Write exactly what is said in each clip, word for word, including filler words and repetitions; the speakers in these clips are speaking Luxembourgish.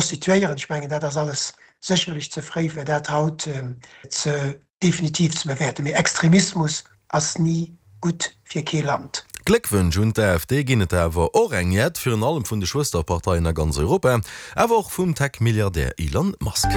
constituéieren. Ech mengen, dat ass alles sécherlech ze fréi, fir dat haut ze definitiv ze bewäerten. Mee Extremismus ass ni gutt fir kee Land. Gléckwënsch un d'AfD ginn et awer och eng jett, virun allem vun de Schwësterparteien a ganz Europa, awer och vum Tech-Milliardär Elon Musk.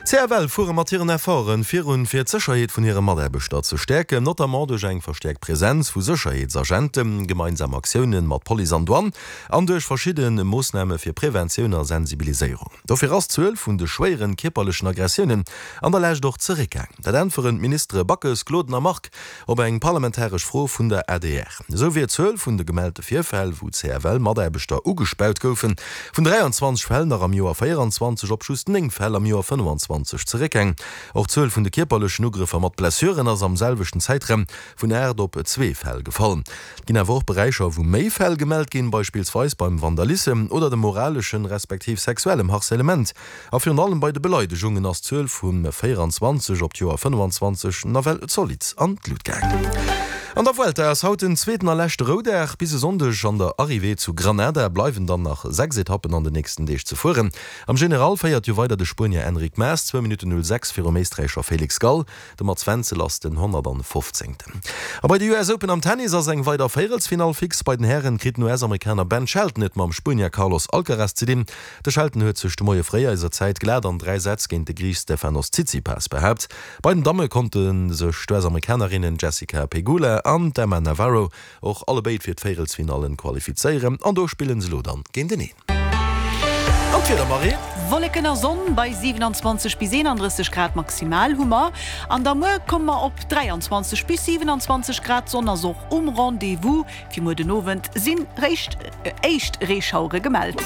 D'CFL fuere mat hiren Efforten virun, fir d'Sécherheet vun hire Mataarbechter ze stäerken, notamment duerch eng verstäerkt Presenz vu Sécherheetsagenten, gemeinsam Aktioune mat Police an Douane an duerch verschidde Moossname fir Preventioun a Sensibiliséierung. Dofir ass d'Zuel vun de schwéieren kierperlechen Aggressiounen an der Lescht och zeréckgaang. Dat äntweren d'Ministere Backes, Gloden a Margue op eng parlamentaresch Fro vun der adr. Esou wier d'Zuel vun de gemellte Virfäll, wou C F L-Mataarbechter ugespaut goufen, vun dräianzwanzeg Fäll nach am Joer véieranzwanzeg op just néng Fäll am Joer fënnefanzwanzeg zeréckgaang. Och d'Zuel vun de kierperlechen Ugrëffer mat Blessuren ass am selwechten Zäitraum vun aacht op zwee Fäll gefall. Et ginn awer och Beräicher, wou méi Fäll gemellt ginn, beispillsweis beim Vandalissem oder dem moraleschen respektiv sexuellem Harcèlement. A virun allem bei de Beleidegungen ass d'Zuel vu véieranzwanzeg op d'Joer fënnefanzwanzeg nawell zolidd an d'Lut gaangen. An der Vuelta ass haut den zweeten a leschte Roudag. Bis e Sonndeg an der Arrivée zu Granada bleiwen dann nach sechs Etappen an den nächsten Deeg ze fueren. Am General féiert jo weider de Spuenier Enric Mas, zwou Minutten null sechs virum Éisträicher Felix Gall. De Mats Wenzel ass den honnertfofzéngten. A bei de U S Open am Tennis ass eng weider Véierelsfinall fix. Bei den Hären kritt den U S-Amerikaner Ben Shelton et mam Spuenier Carlos Alcaraz ze dinn. De Shelton huet sech de Moie fréi eiser Zäit glat an dräi Sätz géint de Griich Stefanos Tsitsipas behaapt. Bei den Damme konnte sech d'U S-Amerikanerinnen Jessica Pegula an d'Emma Navarro och allebéid fir d'Véierelsfinallen qualifizéieren an do spillen se elo dann géinteneen. An d'Wieder, Marie? Wolleken a Sonn bei siewenanzwanzeg bis eenandrësseg Grad maximal hu mer. An da muer komme mer op dräianzwanzeg bis siewenanzwanzeg Grad. D'Sonn ass och um Rendez-vous. Fir muer den Owend sinn réischt éischt Reeschauere gemellt.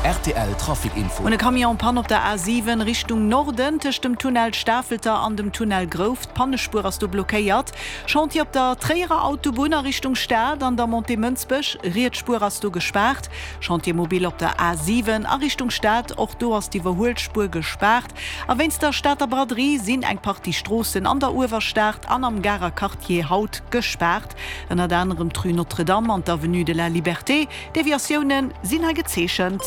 R T L Trafic Info. Un e Camion en panne op der A siwen Richtung Norden tëscht dem Tunnel Stafelter an dem Tunnel Grouft. D'Pannespuer ass do blockéiert. Chantier op der Tréierer Autobunn a Richtung Stad an der Montée Mënsbech, riets Spuer ass do gespaart. Chantier mobile op der A siwen a Richtung Stad, och do ass d'Iwwerhuelspuer gespaart. A wéinst der Stater Braderie sinn eng Partie Stroossen an der Uewerstad an am Garer Quartier haut gespaart, ënnert anerem d'Rue Notre-Dame an d'Avenue de la Liberté. Deviatioune sinn hei gezeechent.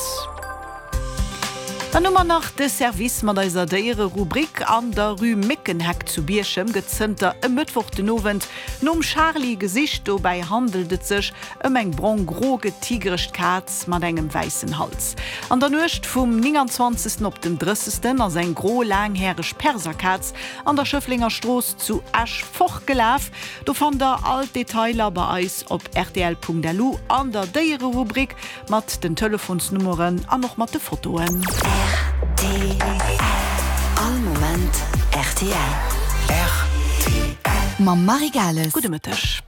Dann hu mer nach de Service mat eiser Déiere-Rubrik. An der Rue Méckenheck zu Bierchem gëtt zënter e Mëttwoch den Owend nom Charly gesicht. Dobäi handelt et sech ëm eng brong-gro getigerecht Kaz mat engem wäissen Hals. An der Nuecht vum nénganzwanzegsten op den drëssegsten ass eng gro laanghäreg Perserkaz an der Schëfflenger Strooss zu Esch fortgelaf. Do fannt der all d'Detailer bei eis op rtl Punkt L U an der Déiere-Rubrik mat den Telefonsnummeren an och mat de Fotoen. R T L. All Moment R T L. R T L. Mam Marie Gales. Gudde Mëtteg.